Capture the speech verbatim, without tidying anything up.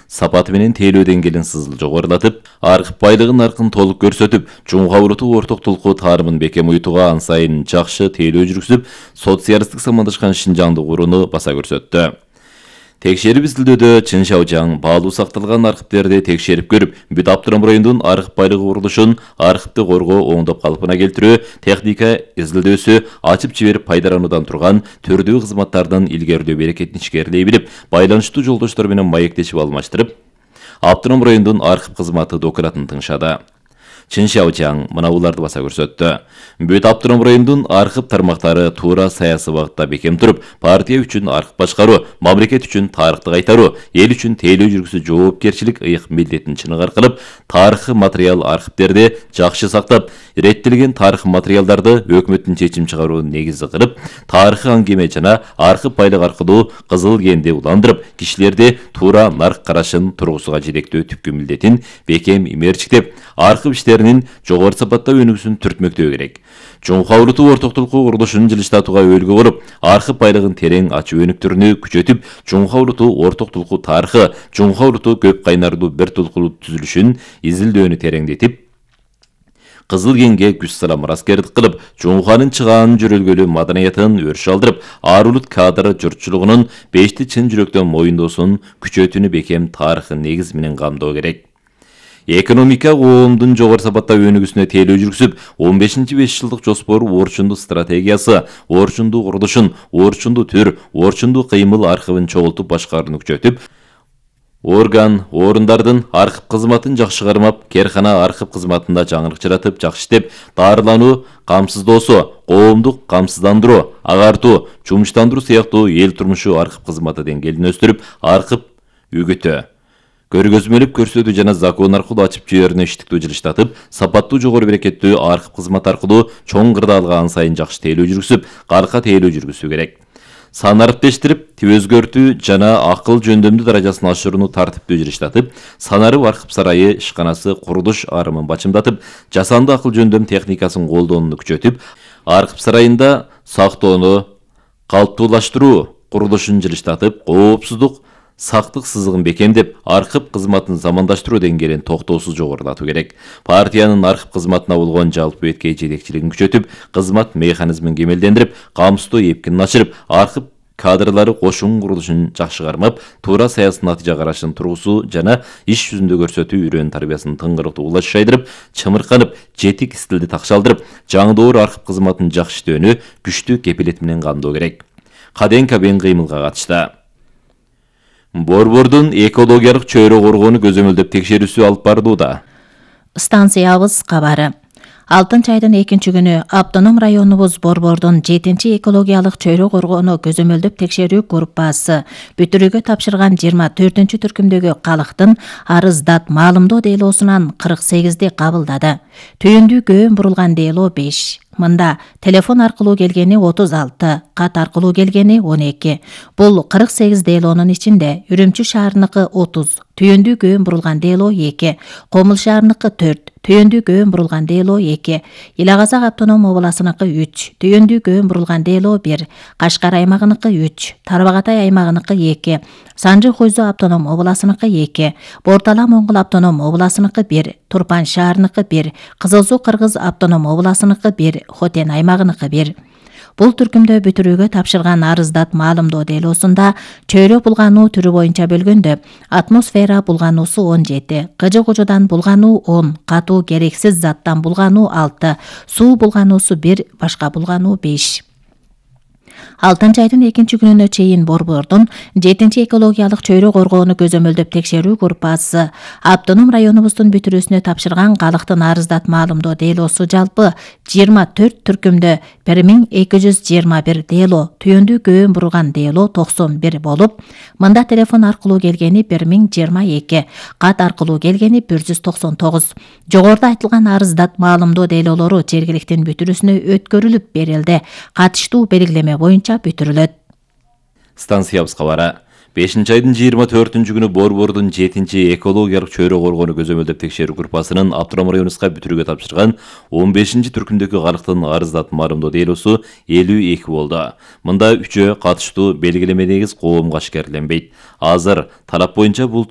сапаты менен тейлөө деңгээлин сызыл жогорулатып, аркып байлыгын наркын толук көрсөтүп, Жумга уруту орток тулкуу таарымын бекем уютууга ан сайын жакшы тейлөө жүргүзүп, социалисттик самандашкан Шинжаңды курууну баса көрсөттү. Текшерип изилдөөдө Чын Шаожаң баалуу сакталган архивдерди текшерип көрүп, бүт Автоном районунун архив байлыгы курулушун, архивди коргоо, оңдоп калпына келтирүү, техника изилдөөсү, ачып жиберип пайдалануудан турган түрдүү кызматтардын илгерилөө берекетин ишкерлей билип, байланыштуу жолдоштор менен маектешип алмаштырып, Автоном районунун архив кызматы документын тыңшады. Чын Шаожаң мына буларды баса көрсөттү. Бүт Автоном районунун архив тармактары туура саясий багытта бекем туруп, партия үчүн архив башкаруу, мамлекет үчүн тарыхты кайтаруу, эл үчүн тейлөө жүргүзүү жоопкерчилик ыйык милдетин чыныгар кылып, тарыхый материал архивдерди жакшы сактап, реттелген тарыхый материалдарды өкмөттүн чечим чыгаруу негизи кылып, тарыхый аңгеме жана архив байлык аркылуу кызыл кенди уландырып, кишилерди туура нарк карашын тургусуга жетектөө түпкү милдетин бекем имерчиктеп, архив иштеринин жогору сапатта өнүгүүсүн түртмөктөө керек. Жумга уруту орток тулкуу курулушун жылыштатууга өүлгү болуп, архив байлыгын терең ачуу өнүктүрүүнү күчөтүп, Жумга уруту орток тулкуу тарыхы, Жумга уруту көп кайнарлуу бир тулкулуу түзүлүшүн изилдөөнү тереңдетип, Кызыл кенге күч салам раскердик кылып, Жумганын чыгаанын жөрөлгөлүү маданиятын өрүш алдырып, арулут кадр журтчулугунун бешти чын жүрөктөн моюндоосун күчөтүүнү бекем тарыхый негиз менен камдоо керек. Экономика коомдун жогору сапатта өнүгүүсүнө тейлөө жүргүзүп, он бешинчи беш жылдык жоспору орчундуу стратегиясы, орчундуу курулушун, орчундуу түр, орчундуу кыймыл архивин чогултуп башкарууну күчөтүп, орган, орундардын архив кызматын жакшы кармап, керкана архив кызматында жаңырык жаратып, жакшы иштеп, дарылануу, камсыздоосу, коомдук камсыздандыруу, агартуу, жумуштандыруу сыяктуу эл турмушу архив кызматы деңгээлин өстүрүп, архив үгүтө, көргөзмөлүп көрсөтүү жана закон аркылуу ачып жиберүүнү иштиктүү жылыштатып, сапаттуу жогору берекеттүү архив кызматы аркылуу чоң кырдаалга ан сайын жакшы тейлөө жүргүзүп, калка тейлөө жүргүзүү керек. Санариптештирип, өзгөртүү жана акыл жөндөмдүү даражасын ашырууну тартиптүү жылыштатып, санарып архив сарайы ишканасы курулуш арымын бачымдатып, жасанды акыл жөндөм техникасын колдонууну күчөтүп, архив сарайында сактоону калыптуулаштыруу курулушун жылыштатып, коопсуздук, сактык сызыгын бекемдеп, архив кызматын замандаштыруу деңгээлин токтоосуз жогорулатуу керек. Партиянын архив кызматына болгон жалпы эткей жетекчилигин күчөтүп, кызмат механизмин кемелдендирип, камсыздоо эпкинин ашырып, архив кадрлары кошун курулушун жакшы кармап, туура саясий натыйжа карашын тургусу жана иш жүзүндө көрсөтүү үрөн тарбиясын тыңгырыктуу улаш шайдырып, чымырканып, жетик стилди такшалдырып, жаңдоор архив кызматын жакшы иштөөнү күчтүү кепилет менен камдоо керек. Каден кабен кыймылга катышты. Борбордун экологиялык чөйрө коргоону көзөмөлдөп текшерүүсү алып барылууда. Станциябыз кабары. Алтынчы айдын экинчи күнү Автоном районубуз Борбордун жетинчи экологиялык чөйрө коргоону көзөмөлдөп текшерүү группасы бүтүрүүгө тапшырган жыйырма төртүнчү түркүмдөгү калктын арыз дат маалымдоо делоосунан кырк сегизди кабылдады. Түйүндүү көөн бурулган дело беш. Мында телефон аркылуу келгени отуз алты, кат аркылуу келгени он эки. Бул кырк сегиз делонун ичинде Үрүмчү шаарыныкы отуз, түйүндүү көөн бурулган дело эки, Комул шаарыныкы төрт, түйүндүү көөн бурулган дело эки, Ила Казак автоном областыныкы үч, түйүндүү көөн бурулган дело бир, Кашкар аймагыныкы үч, Тарбагатай аймагыныкы эки, Санжы Хойзу автоном областыныкы эки, Бортала Моңгол автоном областыныкы бир, Турпан шаарыныкы бир, Кызыл Суу Кыргыз автоном областыныкы бир, Хотен аймагыныкы бир. Бул түркүмдө бүтүрүүгө тапшырган арыздат маалымдоо делоосунда чөйрө булгануу түрү боюнча бөлгөндө атмосфера булгануусу он жети, кыжы кужудан булгануу он, катуу керексиз заттан булгануу алты, суу булгануусу бир, башка булгануу беш. Алтынчы айдын экинчи күнүнө чейин Борбордун жетинчи экологиялык чөйрө коргоону көзөмөлдөп текшерүү группасы Автоном районубуздун бүтүрүүсүнө тапшырган калктын арыздат маалымдоо делоосу жалпы жыйырма төрт түркүмдө бир миң эки жүз жыйырма бир дело, түйүндүү көөн бурулган дело токсон бир болуп, мында телефон аркылуу келгени бир миң жыйырма эки, кат аркылуу келгени бир жүз токсон тогуз. Жогоруда айтылган арыздат маалымдоо делолору жергиликтин бүтүрүүсүнө өткөрүлүп берилди. Катыштуу белгилеме боюнча бүтүрүлөт. Станциябыз кабары. бешинчи айдын жыйырма төртүнчү күнү Борбордун жетинчи экологиялык чөйрө коргоону көзөмөлдөп текшерүү группасынын Автоном районубузга бүтүрүүгө тапшырган он бешинчи түркүмдөгү арыктын арыздат марымдоо делосу элүү эки болду. Мында үчөө катыштуу белгилеме негиз коомго ашкерленбейт. Азыр талап боюнча бул